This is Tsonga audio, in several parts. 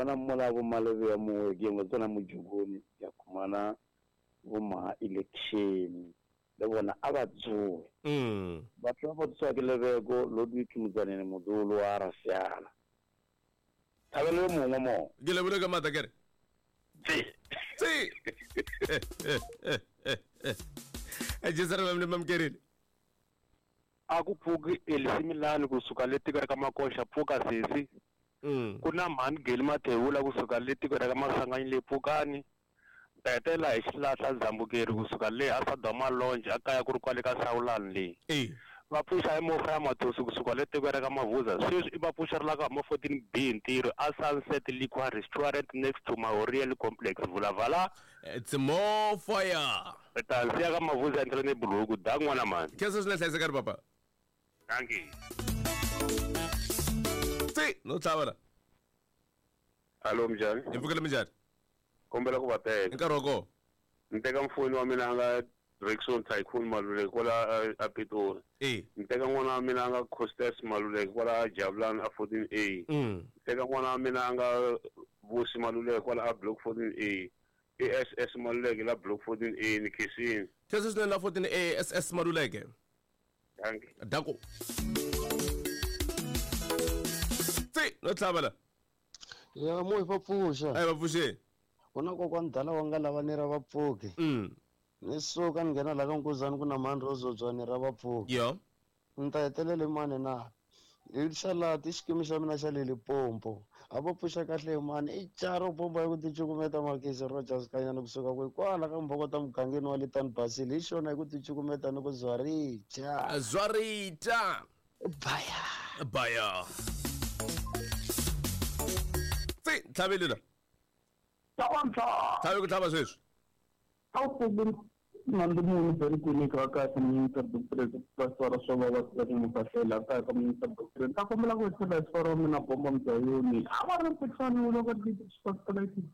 Bona mola bo Malebe ya mongwe ke mo tsena mojokoni ya khumana bo ma election le bona a ba tsoe. Batho ba ba tsoa ke lebeko Ludwig Motsanene modolo wa Rasiala. Thabelo yo mongwe mo. Ke lebole ka maatla kere. Tse. Tse. Jesu re ba mamkerile. A ku pfuki Elisimilani kusuka le tiko ra ka Makoxa pfuka sesi. Ku na mhani Geli Mathebula kusuka le tiko ra ka Masanganyi le Pfukani. Ta hetelela hi xilahla Zambukeri kusuka le a Sadoma Lounge a kaya ku ri kwale ka Sawulani le. Va pfuxa hi Mofa ya Mathosi kusuka le tiko ra ka Mavuza. Sweswi i va pfuxa ri la ka huma 14 B ntirho a Sunset Liquor Restaurant next to Mahoriel Complex. Vulavala. It's more fire. Ri ta siya ka Mavuza endlela ni buruku. Da n'wana mhani. Khensa swinene hlayisekani papa. Dankie. Tsi, no tlhava la. Hallo minjhani? Hi pfukile minjhani? Kombela ku va teka. Hi nkarhi wa kona. Ni teka mufoni wa mina a nga Rickson Tycoon Maluleke kwala a Pitori. E. Ni teka n'wana wa mina a nga Costas Maluleke kwala a Jabulani a 14A. Ni teka n'wana wa mina a nga Vusi Maluleke kwala a Block 14A. I SS Maluleke la Block 14A ni khensile. Khensa swinene la 14A SS Maluleke. Dankie. Danko. Tsi, no tlhava la. Ya mo hi va pfuxa. A hi va pfuxeni. Ku na kokwani dala wa nga lava ni ra vapfuki. Ni suka ni nghena la ka Nkuzani ku na mhani Rozodzwa ni ra vapfuki. Yo. Ni ta hetelela hi mani na? Hi xalati i xikimi xa mina xa le Limpopo. A va pfuxa kahle hi mani? I Charo bomba ya ku ticukumeta Makisi Rogers Kanyana kusuka kwihi kwala ka Mbhokota mugangeni wa Litani Basile. Hi xona hi ku ticukumeta ni ku zwarija. Zwarija. Baya. Baya. Tsi, tlhaveli la. Tlhava Tlhavi ku tlhava sweswi. A wu pfuli nandzu muni beri kwinika wa kahle minister doctorate pastora swo va va tiva ku mufahlela kaya ka minister doctorate ta kombela ku tlhela hi sifara wa mina bomba mudayoni a va ri mputlhani wu loko ti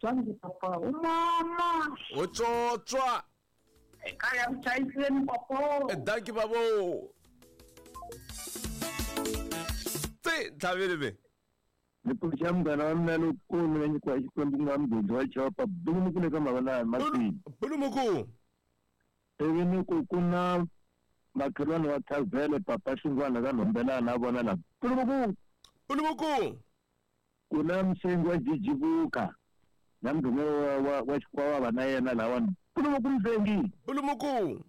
jangi papa u mama U tswotswa. ekaya ku chayiseni papa Dankie babo. Tsi, tlhaveli be. Ni pfuxa munghana wa mina lowukulu la nyikiwa hi Xikwembu ku nga mugodi wa Chopa Bulumuku le ka Mavalani Masini. Bulumuku. Ivi ni ku ku na makhelwani wa Thavhele Papa Xingwana ka Nhombelana a vona la Bulumuku. Bulumuku. Ku na musengi wa Jijivuka na mudhume wa Xikwavava na yena lawani Bulumuku musengi. Bulumuku.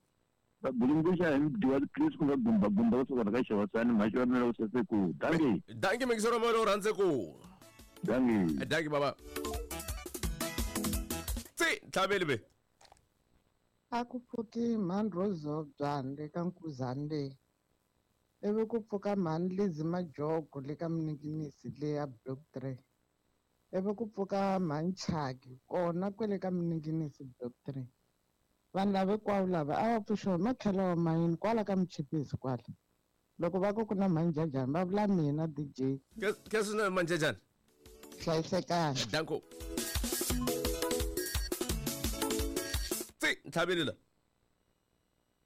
Va bulunguxa hi mudyi wa Chris ku nga gumba gumba kusuka la ka Xewasani mhaxi wa mina u sese ku dangi. Dangi mixero wa mina u rhandze ku. Dangi. Dangi baba. Tsi tlhaveli be. A ku pfuki mhani Rozobya le ka Nkuzani le. Ivi ku pfuka mhani Lizzy Majogo le ka Mninginisi le ya Block 3. Ivi ku pfuka mhani Chaki kona kwele ka Mninginisi Block 3. Vanhu lava hinkwavo lava a va pfuxiwa hi matlhelo wa mayini kwala ka Muchipisi kwala. Loko va ku ku na mhanjajani va vula mina DJ. Ke swi na manjajani? Hlayisekani. Danko. Tsi, ntlhaveli la.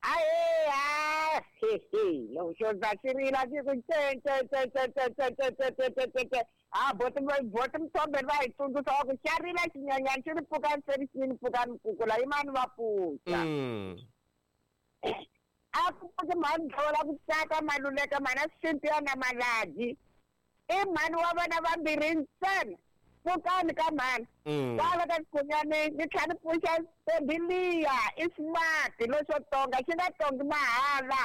Ahe, ha, he, he. Loko xo ndza xi rila xi ku nce, nce, nce, nce, nce, nce, nce, nce, nce, nce, nce, nce. Ha, boti, boti Mthombeni va hi tsundzuxa va ku xa rila xinyenyana xi ri pfukani se ri xini pfukani kukula yimani va pfuxa. A ku pfuki mhani Dlola ku tsaka Maluleka mhana Cynthia na Maladyi. I mhani wa vana vambirhi ntsena. Pfukani ka mhani. Kwala ka Xikhunyani ni tlhela ni pfuxa Ntombi liya i smart lexo tonga xi nga tongi mahala.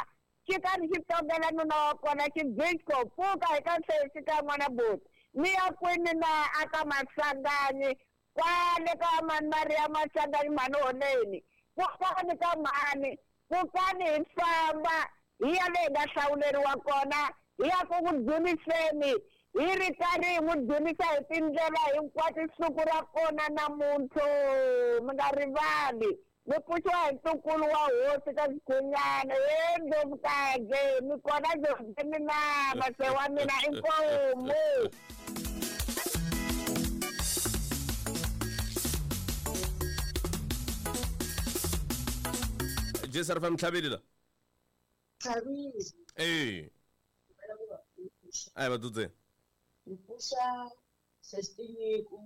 Xi karhi xi tongela nuna wa kona xi disco pfuka hi ka sesi ka n'wana buti. Ni ya kwini na a ka Masanganyi kwale ka mhani Maria Masanganyi mhani Holeni. Pfukani ka mhani, pfukani hi famba hi ya le hi nga hlawuleriwa kona hi ya ku n'wi dzuniseni hi ri karhi hi n'wi dzunisa hi tindlela hinkwato siku ra kona namuntlha mi nga rivali mi pfuxiwa hi ntukulu wa hosi ka Xikhunyana he Ndlovukazi mi kona Ndlovukeni na mase wa mina inkomu. Jesu re fa mtlhabeli la. Tlhabile. Ee. A ba tutse. Re pusa sestinyiku.